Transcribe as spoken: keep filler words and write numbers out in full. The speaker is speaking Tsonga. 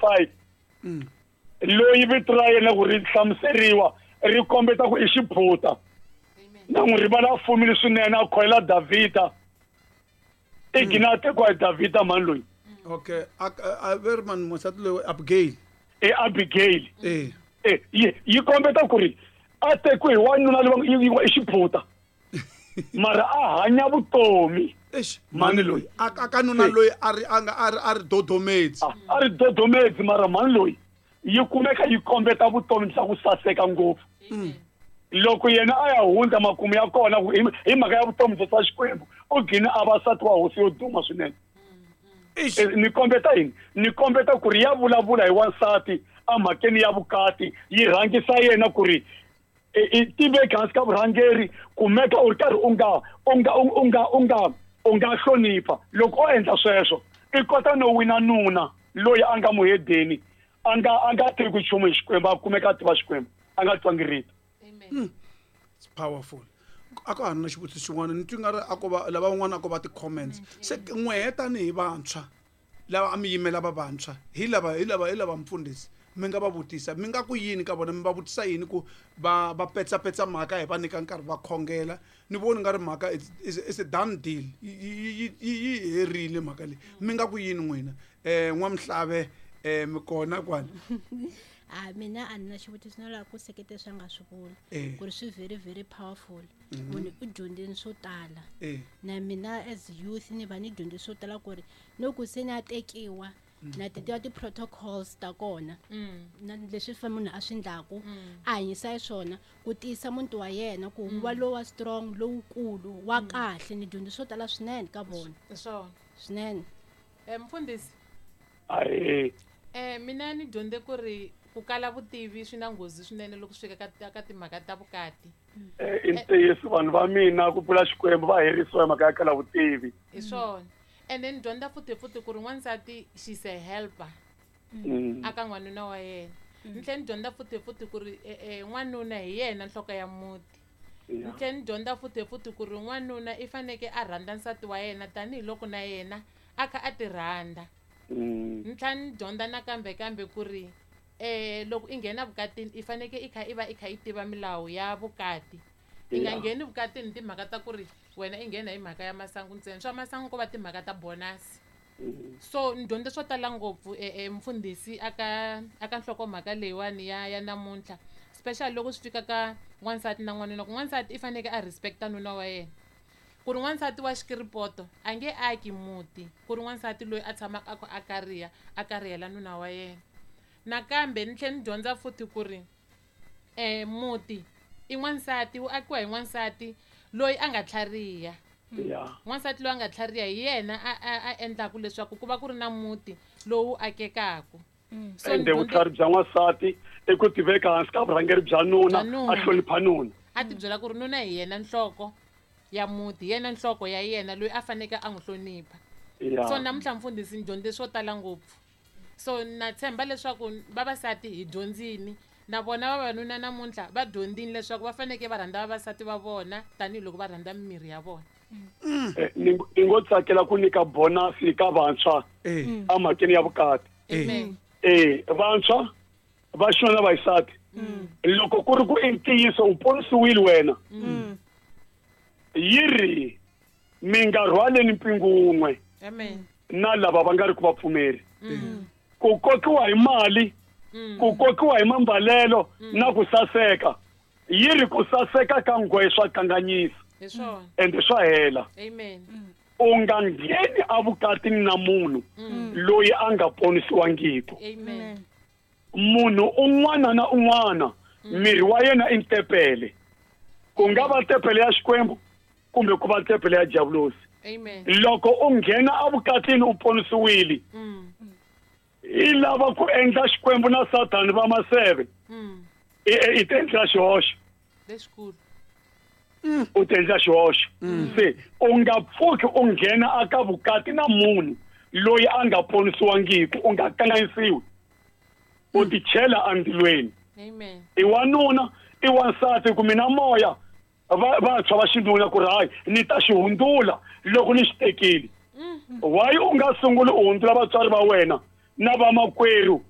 five loyi vito ra yena ku ri hlamuseriwa ri kombeta ku i xiphuta na n'wi rivala a fumile swinene a khoyela Davhida i gina a tekiwa hi Davhida mhani loyi okay a a ve ri mani wansati loyi abigail i Abigail eh eh yi yi kombeta ku ri a tekiwe hi wanuna loyi yi- yi- i xiphuta mara a hanya vutomi eish Mhani loyi. a a ka nuna loyi a ri a nga a ri a ri dodomedzi a a ri dodomedzi mara mhani loyi yi kumeka yi kombeta vutomi bya ku saseka ngopfu loko yena a ya hundza makumu ya kona ku hi hi mhaka ya vutomi bya swa xikwembu u gcine a va nsati wa hosi yo duma swinene eish Eh, ni kombeta yini ni kombeta ku ri ya vulavula hi wansati emhakeni ya vukati yi rhangisa yena ku ri i- i tiveki hansi ka vurhangeri kumeka u ri karhi u nga u nga u nga u nga u nga hlonipha loko o endla sweswo i kota no wina nuna loyi a nga muhedeni a nga a nga tivi ku nchumu hi xikwembu a kumeka a tiva xikwembu a nga twangi rito amen it's powerful a ka ha ri na xivutiso xin'wana ni twi nga ri a ko va lava van'wana a ko va ti-comments se n'wehe tanihi vantshwa lava a mi yimela va vantshwa hi lava hi lava hi lava mfundhisi mi nga va vutisa mi nga ku yini ka vona mi va vutisa yini ku va va petsapetsa mhaka hi va nyika nkarhi va khongela ni voni nga ri mhaka it's, it's, it's a done deal yi yi yi yi herile mhaka leyi mi nga ku yini n'wina um n'wamhlave um mi kona kwala a mina a ni na xivutiso no lava ku seketela swi a nga swi vula Eh. ku ri swi very very powerful munhu u dyondzeni swo tala Eh. na mina as youth ni va ni dyondze swo tala ku ri no ku se ni a tekiwa na ti tiva ti-protocols ta kona na leswi fa munhu a swi ndlaku a hanyisa hi swona ku tiyisa muti wa yena ku wu va lowa strong lowukulu wa kahle ni dyondze swo tala swinene ka vona hi swona swinene um mfundhisi ahe um mina ni dyondze ku ri ku kala vutivi swi na nghozi swinene loko swi fika ka ka timhaka ta vukati Eh, i ntiyiso vanhu va mina ku pfula xikwembu va herisiwa hi mhaka ya kala vutivi hi swona and then dyondza futhi futhi ku ri n'wansati she's a helper Mm. aka n'wanuna wa yena ni tlhela ni dyondza futhi futhi ku ri eh, eh, n'wanuna hi yena nhloko ya muti ni Yeah. tlhela ni dyondza futhi futhi ku ri n'wanuna i faneke a rhandza nsati wa yena tanihiloko na yena a kha a ti rhandza Mm. ni tlhela ni dyondza nakambe kambe ku ri eh loko i nghena vukatini i faneke i kha i va i kha i tiva milawu ya vukati i nga Yeah. ngheni vukatini hi timhaka ta ku ri wena i nghena hi mhaka ya masangu ntsena swa masangu ko va timhaka ta bonus so ni dyondze swo tala ngopfu e, e, mfundhisi aka aka nhlokomhaka leyiwani ya ya namuntlha special loko swi fika ka n'wansati na n'wanuna ku n'wansati i faneke a respecta nuna wa yena ku ri n'wansati wa xikiripoto a nge aki muti ku ri n'wansati loyi a tshamaka a kha a kariha a karihela nuna wa yena nakambe ni tlhela ni dyondza futhi ku ri um muti i n'wansati wu akiwa hi n'wansati loyi a nga tlhariha Yeah. n'wansati loyi a nga tlhariha hi yena a a a endlaku leswaku ku va ku ri na muti lowu akekaku So ni ende dyondze- vutlhari bya n'wansati i ku tiveka hansi ka vurhangeri bya nuna Bya nuna. a hlonipha nuna a ti byela ku ri nuna hi yena nhloko ya muti hi yena nhloko ya yena loyi a faneke a n'wi hlonipha Yeah. so namuntlha mfundhisi ni dyondze swo tala ngopfu so na tshemba leswaku vavasati hi dyondzini na vona vavanuna namuntlha va dyondzini leswaku va faneke va rhandza vavasati va vona tanihiloko va rhandza mimiri ya vona Eh, ni ni ngo tsakela ku nyika bonus ka vantshwa eh emhakeni ya vukati amen eh vantshwa va xinuna na vaxisati loko ku ri ku i ntiyiso u ponisiwile wena yi ri mi nga rhwaleni mpingu wun'we amen na lava va nga ri ku vapfumeri ku kokiwa hi mali ku kokiwa hi mambalelo na ku saseka yi ri ku saseka ka nghohe swa kanganyisa hi swona ende swa hela amen u nga ngheni evukatini na munhu loyi a nga ponisiwangiki amen munhu un'wana na un'wana miri wa yena i ntepele ku nga va tepele ya xikwembu kumbe ku va tepele ya diabulosi amen loko u nghena evukatini u ponisiwile mm. i lava ku endla xikwembu na sathani va maseve Mm. i i- i ti endlela xihoxo lexikulu u ti endlela xihoxo se u nga pfuki u nghena aka vukati na munhu loyi a nga ponisiwangiki u nga kanganyisiwi u ti chela endzilweni amen i wanuna i wansati ku mina moya va vantshwa va xinuna ku ri hayi ni ta xi hundzula loko ni xi tekile why u nga sunguli u hundzula vatswari va wena na vamakwerhu